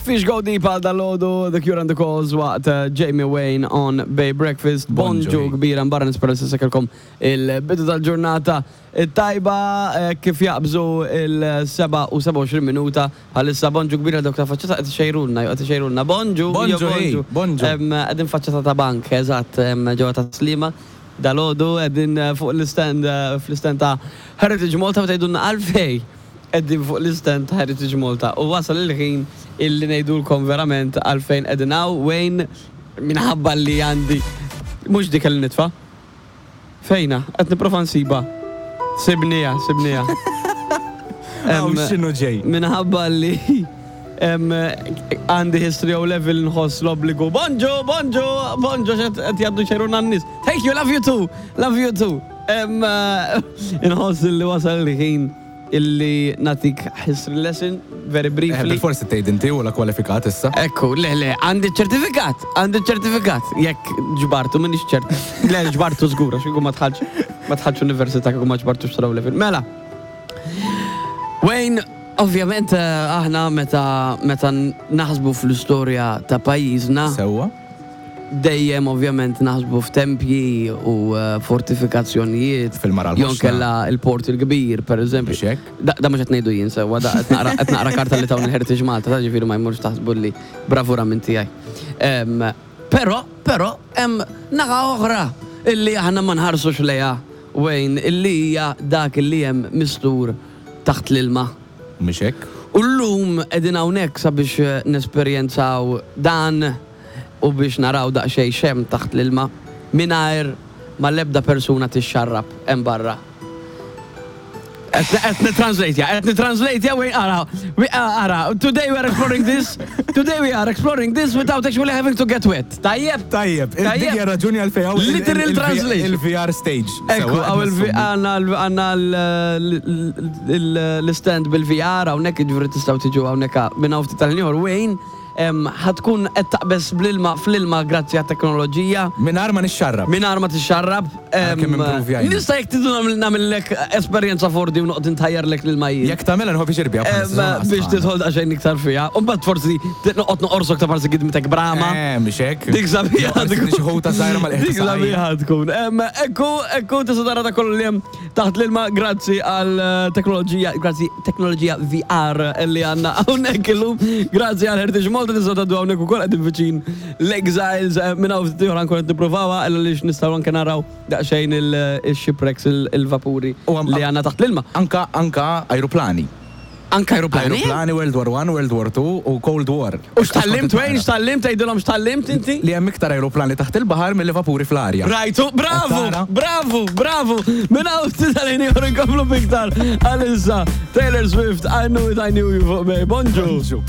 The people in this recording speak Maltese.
Fish Go Deep għal dal-ħodu, The Cure and the Cause waqt eh, Jamie Wayne on Bay Breakfast. Bonġu Bonġu kbira mbarra nispera li sekelkom il-bidu tal-ġurnata tajba eh, kif jaqbżu il-7 u 27 minuta bħalissa bonġu kbira dawk ta' faċċata qed ixejrulna, qed ixejrulna. Bonġu, Bonġu, jo, hey, bonġu. Em, Qegħdin faċċata ta' bank, eżatt, em, ġewwa ta' Slima. Dal-ħodu qegħdin eh, fuq l-istand eh, fl-istand ta' Heritage Malta u tgħidulna għalfej qegħdin fuq l-istand ta' Heritage Malta. U wasal il-ħin illi ngħidulkom verament għalfejn qegħdin hawn Wayne minħabba li għandi mhux dik li nitfa'. Fejna, qed nipprova nsiba. Sibnija, sibnija. Aw, Em, x'inhu ġej? Minħabba li em, għandi history O level nħoss l-obbligu. Bonġu, bonġu, bonġu, xed qed jgħaddu xeruna n-nies. Thank you, love you too, love you too. Em, eh, Nħoss li wasal il-ħin illi natik history lesson, very Eh, briefly. Bil-forsi tgħid inti u la kwalifikat issa. Ekku, le, le, għandi ċertifikat, għandi ċertifikat. Jekk ġbartu, minix ċert. Le, ġbartu żgur, għax kieku ma tħallx, ma tħallx università kieku ma ġbartux tal level. Mela, Wayne, ovvjament eh, aħna meta meta naħsbu fl-istorja ta' pajjiżna, Sewwa. dejjem ovvjament naħsbu f'tempji u eh, fortifikazzjonijiet. Fil-Mara Jew l-Ħoxna. kella il-Port il-Kbir, per eżempju. Mhux hekk? Da, da mhux qed ngħidu jien sewwa, da qed naqra qed naqra karta li tawn il-Heritage Malta, ta' ġifieri ma jmurx taħsbu li bravura minn tiegħi. Em, Però, però, hemm naħa oħra illi aħna ma nħarsux lejha Wayne, illi hija dak illi hemm mistur taħt l-ilma. Mhux hekk? U llum qegħdin hawnhekk sabiex eh, nesperjenzaw dan u biex naraw daqsxejn x'hemm taħt l-ilma mingħajr ma l-ebda persuna tixxarrab hemm barra. Qed nitranslate, qed nitranslate, we ara, we ara, today we are exploring this, today we are exploring this without actually having to get wet. Tajjeb? Tajjeb, dik hija raġuni għalfejn hawn il- Literal il- translation. Il-VR stage. Ekku, Sewwa, għaw qed nassumi. għanna għanna l-stand bil-VR, hawnhekk ġifieri tistgħu tiġu hawnhekk minn hawn ftit tal-ieħor Wayne, em, ħatkun qed taqbeż bl-ilma fl-ilma grazzi għat-teknoloġija. Mingħajr ma nixxarrab. Mingħajr ma tixxarrab. em, Kemm improvjajna. Nista' jekk tidu nagħmel- nagħmellek esperjenza 4D u noqgħod intajjarlek l-ilma jien. Jekk tagħmilha nħobb xirbja. Em, Biex tidħol daqsxejn iktar fiha. U mbagħad forsi noqgħod noqorsok ta' parsi gidmitek brama. Eh, mhux hekk. Dik sabiħa tkun. Xi ħuta żgħira mal Dik sabiħa tkun. Em, Ekku, ekku, tista' tara ta' kollu li hemm taħt l-ilma grazzi għal eh, teknoloġija, grazzi teknoloġija VR li għandna hawnhekk illum. Grazzi għal Heritage Malta tista' tgħaddu hawnhekk ukoll qegħdin viċin l-Exiles eh, minn hawn ftit ieħor ankun qed nippruvawha illa lix nistgħu anke naraw daqsxejn il-shipwrecks il-vapuri U għam- li għandna taħt l-ilma. Anka anka ajruplani. Anke aeroplani. Ajruplani World War 1, World War 2 u Cold War. U x'tallimt Wayne, x'tallimt tgħidilhom x'tallimt inti? Li hemm iktar ajruplani taħt il-baħar milli vapuri fl-arja. Rajtu, bravu, Tara. bravu, bravu. Minn hawn ftit għalini ieħor inkomplu biktar. Għalissa, Taylor Swift, I knew it, I knew you fuq Bay. Bonġu. Bonġu.